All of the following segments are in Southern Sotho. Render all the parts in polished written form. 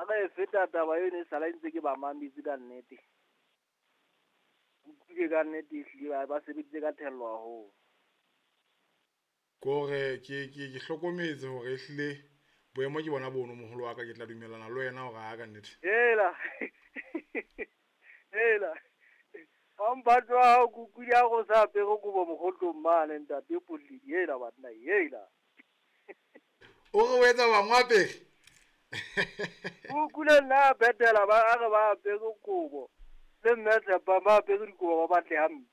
Ha re e feta taba eno e sala ntse ke ba mametse ka nnete. Utlwile ka nnete ehlile ba sebeditse ka thello haholo. Ke hore ke hlokometse hore ehlile boemo ke bona bono moholo wa ka, ke tla dumellana le wena hore ha ka nnete. Hela. Hela. Wa mphato wa hao ke utlwile ha go sa apere kobo mokgotlong mane ntate Poledi. Hela banna, hela. O re o etsa bang wa apere? O utlwile nna betela ba a re ba apere kobo. Le mme Tshepang ba apere dikobo ba batle hampe.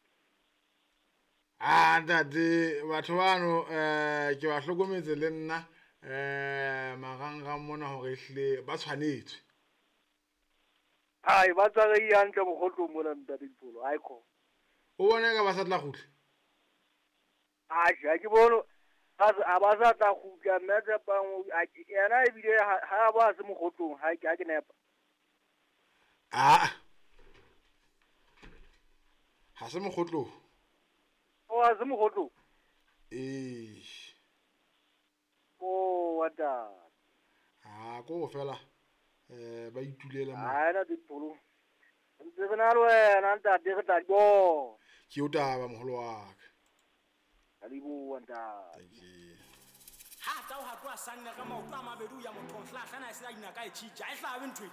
Ah ntate, batho bano ke ba hlokometse le nna marangrang mona hore ehlile ba tshwanetswe. Hai, ba tshwarehile hantle mokgotlong mona ntate Dipholo, hai kho. O bona eka ba sa tla kgutla? Atjhe, ha ke bone a ba sa tla kgutla mme Tshepang yena ebile ha ba se mokgotlong, ha ke nepa. Ah. Ha se mokgotlong. O ha se mokgotlong? Eh. Oh, what the? Ha ko fela ba itulela mo. Ha ena Dipholo. Ntse re na le wena ntate re tla di bona. Ke o taba moholo wa ka. Ka leboha ntate. Thank you. Ha tla o hatwa sanna ka maoto a mabedi o ya mothong hlahlana e se a inaka e tjhitja e hlabe ntho e.